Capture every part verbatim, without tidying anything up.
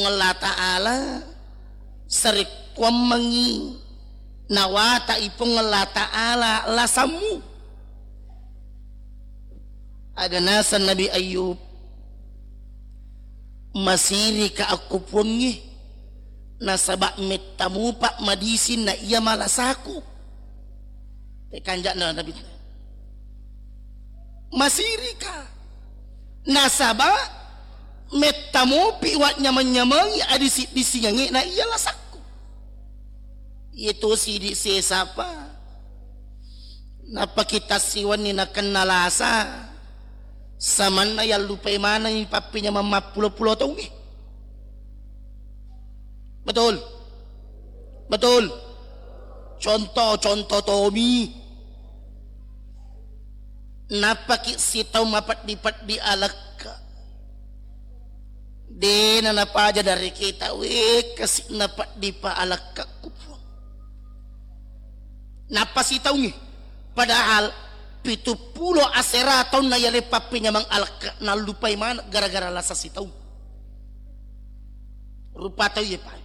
Allah Ta'ala, sarekkuammengngi nawata'i Puang Allah Ta'ala lasammu. Aga naseng Nabi Ayub, masirika akko Puangnge, nasaba metta mupa madising na iya malasaku. Tekanja'na Nabi. Masirika. Nasaba metta mopi wa nyameng-nyamengi adisi-disingengnge na iya lasakku. Iye to sidi sesapa. Nappa kita siwenni nakenna lasa. Samanna yallupai manengi pappinyameng mappulo-pulo taungnge. Betul? Betul? Contoh, contoh tomi. Nappaki sitaung mapeddi-peddi alekka. Dena napaja dareketa, wekka si napeddi pa alekka ku Puang. Nappa sitaungi. Padahal pitu pulo asera taunna yale pappinyameng alekka nallupai maneng gara-gara lasa sitaung. Rupa tau ye pai.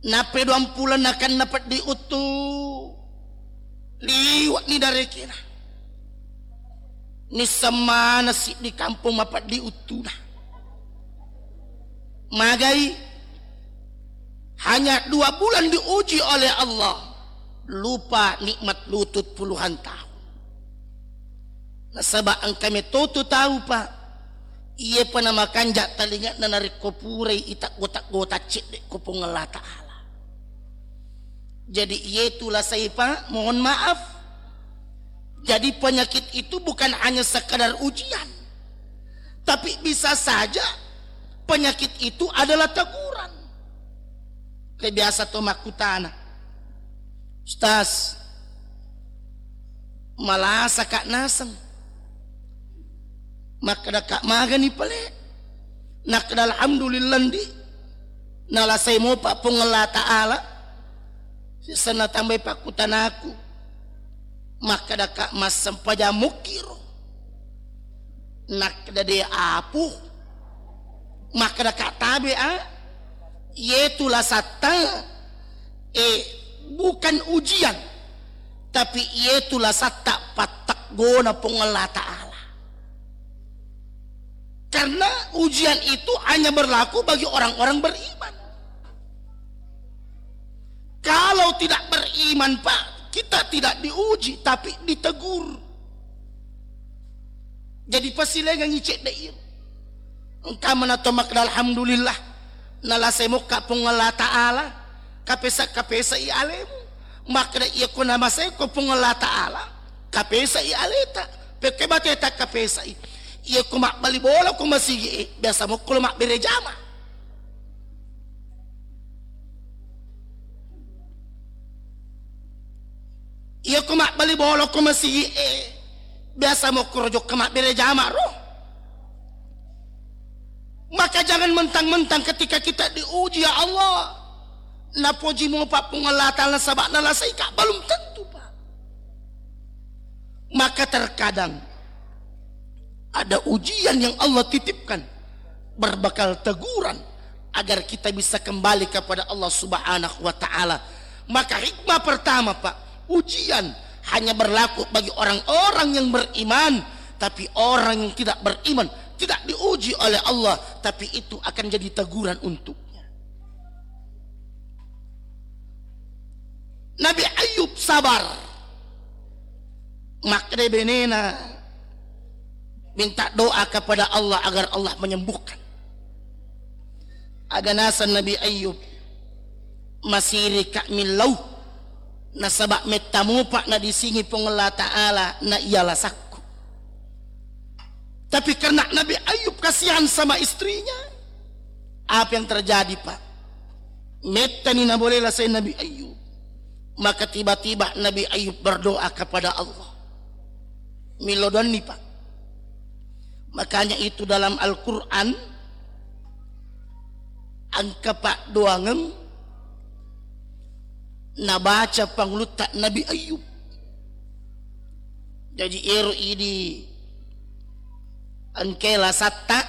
Nappa duang pulo nakenna peddi uttu, liwe'ni darekena. Nisseng maneng siddi kampong mapeddi uttuna. Magai, hanya dua bulan diuji oleh Allah, lupa nikmat lutut puluhan tahun. Nasaba engka metotu tau, Pak, iye pa namakanja talingana narekko purai iteggo-teggo taccedde ko Puang Allah Ta'ala. Jadi iye tu lasai, Pak, mohon maaf. Jadi penyakit itu bukan hanya sekadar ujian, tapi bisa saja penyakit itu adalah teguran. Ke biasa to makkutana, "Ustaz, malasa ka naseng." Makkeda ka, "Magani pale?" Nakkeda, "Alhamdulillah ndi, nalasai mopa Puang Allah Ta'ala." Siseng natambai pakkutanaku, makkeda ka, "Massempajang mukkiro?" Nakkeda, "De apu." Makkeda ka, "Tabe a, iyetu lasatta, eh, bukan ujian, tapi iyetu lasatta patteggona Puang Allah Ta'ala." Karena ujian itu hanya berlaku bagi orang-orang beriman. Kalau tidak beriman, Pak, kita tidak diuji, tapi ditegur. Jadi pasilengengi cedde iro. Engka mana to makkeda, "Alhamdulillah, nalasai mokka Puang Allah Ta'ala, kapesa-kapesai alemu." Makkeda, "Iya ko namasai ko Puang Allah Ta'ala, kapesai aleta." Pekke bateta kapesai. Iya ko mabbali bola ko masigi e, biasa mokko lo mabbere jama. Iya ko mabbali bola ko masigi e, biasa mokko ro jokka mabbere jama ro. Maka jangan mentang-mentang ketika kita diuji, ya Allah, napoji mopa Puang Allah Ta'ala sabak nalasai ka, belum tentu, Pak. Maka terkadang ada ujian yang Allah titipkan berbekal teguran agar kita bisa kembali kepada Allah Subhanahu wa Ta'ala. Maka hikmah pertama, Pak, ujian hanya berlaku bagi orang-orang yang beriman, tapi orang yang tidak beriman tidak diuji oleh Allah, tapi itu akan jadi teguran untuknya. Nabi Ayub sabar. Makkeda benena, minta doa kepada Allah agar Allah menyembuhkan. Aga naseng Nabi Ayub, masirika millau, nasaba metta mupa nadisingi Puang Allah Ta'ala na iya lasakku. Tapi karena Nabi Ayub kasihan sama istrinya, apa yang terjadi, Pak? Mettani nabolei lasai Nabi Ayub. Maka tiba-tiba Nabi Ayub berdoa kepada Allah. Milo doanni, Pak. Makanya itu dalam Al-Quran, engka paddoangeng nabaca pangulutta Nabi Ayub. Jaji ero idi engka lasatta,